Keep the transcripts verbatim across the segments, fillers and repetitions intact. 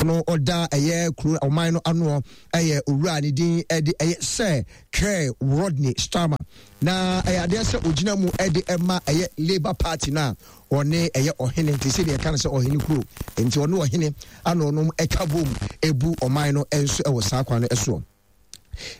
No ɔda ɛyɛ kuro ɔman no ano ɛyɛ owura ne din ɛde ɛyɛ Sir Keir Rodney Starmer, na ɛyɛ adeɛ sɛ ogyina mu ɛde ɛma ɛyɛ Labour Party no a ɔne ɛyɛ ɔhene, nti sɛ deɛ ɛka no sɛ ɔhene kuro, nti ɔne ɔhene ana ɔnom ɛka bom ebu ɔman no ɛnso ɛwɔ saa kwan no ɛsoɔ.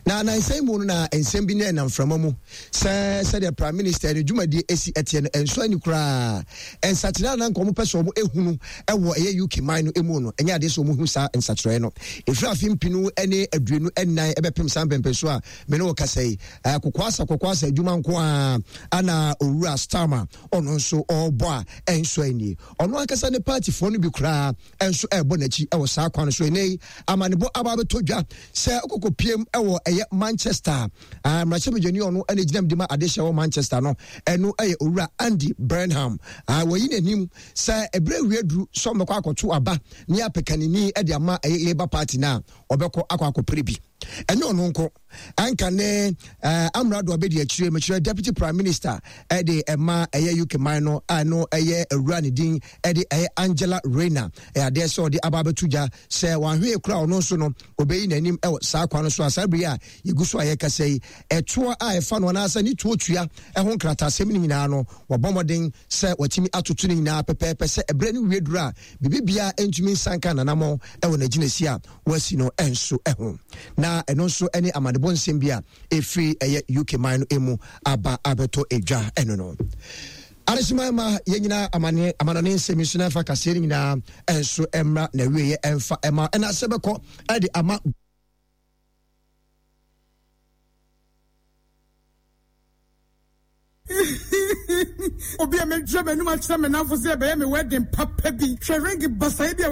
Na nansan mu no na nsɛm bi ne ɛnam mframa mu sɛ sɛdeɛ Prime Minister ne dwumadie esi ɛteɛ no ɛnso ani koraa. Nsakyerɛ a na nka wɔn pɛ sɛ wɔn ehunu ɛwɔ ɛyɛ U K man no emu no, ɛnyɛ adeɛ sɛ wɔn hu saa nsakyerɛ no. Efiri afe mpinu ne aduonu nnan ɛbɛpem saa mpɛmpɛ so a me ne wɔ kasa yi, ɛɛ kokoasa kokoasa adwuma nko ara ana Owura Starmer ɔno nso ɔrebɔ a ɛnso ani. Ɔno ankasa ne partyfoɔ no bi koraa nso ɛrebɔ n'akyi ɛwɔ saa kwan so. Ɛnɛ yi amanebɔ aba abɛtɔ dwa sɛ ɔkɔkɔ piem ɛwɔ ɛyɛ Manchester, mmarahyɛbadwani ɔno ɛna gyina mu de ma adehyɛ wɔ Manchester no, ɛno ɛyɛ Owura Andy Burnham. Wɔyi n'anim sɛ ɛberɛ wie duru sɛ ɔmmɛkɔ akɔto aba ne apɛkanini ɛde ama ɛyɛ Labour Party no a ɔbɛkɔ akɔ akɔpere bi. Ɛnyɛ ɔno nko, anka ne uh, amrado abɛdi akyire, mekyerɛ Deputy Prime Minister ɛde ɛma ɛyɛ U K man no a no ɛyɛ awura ne din ɛde ɛyɛ Angela Rayner, ɛyɛ adeɛ sɛ ɔde aba abɛto gya sɛ wanhwee kora ɔno nso no ɔbɛyi n'anim ɛwɔ saa kwan no so. A saa bere a yɛgu so a yɛkasa yi, ɛtoɔ a ɛfa no anaasɛ ne tuo tua ɛho nkrataasɛm no nyinaa no, wɔbɔ mmɔden sɛ wɔtumi atoto no nyinaa pɛpɛɛpɛ sɛ ɛberɛ no wie duru a biribiara ntumi nsanka nanamɔ ɛwɔ n'agyinasi a wɔasi no ɛnso ɛho. Na ɛno nso ɛne amanebɔ nsɛm bi a ɛfiri ɛyɛ U K man no emu aba abɛtɔ edwa. Ɛno no adehyema ma yɛn nyinaa amane amanɔne nsɛm yi so na ɛfa kaseɛ no nyinaa ɛnso ɛmmra na awieɛ ɛmfa ɛma ɛna asɛ bɛkɔ ɛde ama. Obi a medwa m'anum akyerɛ me namfo sɛ ɛbɛyɛ me wedding papa bi. Hwɛ ring basae bi a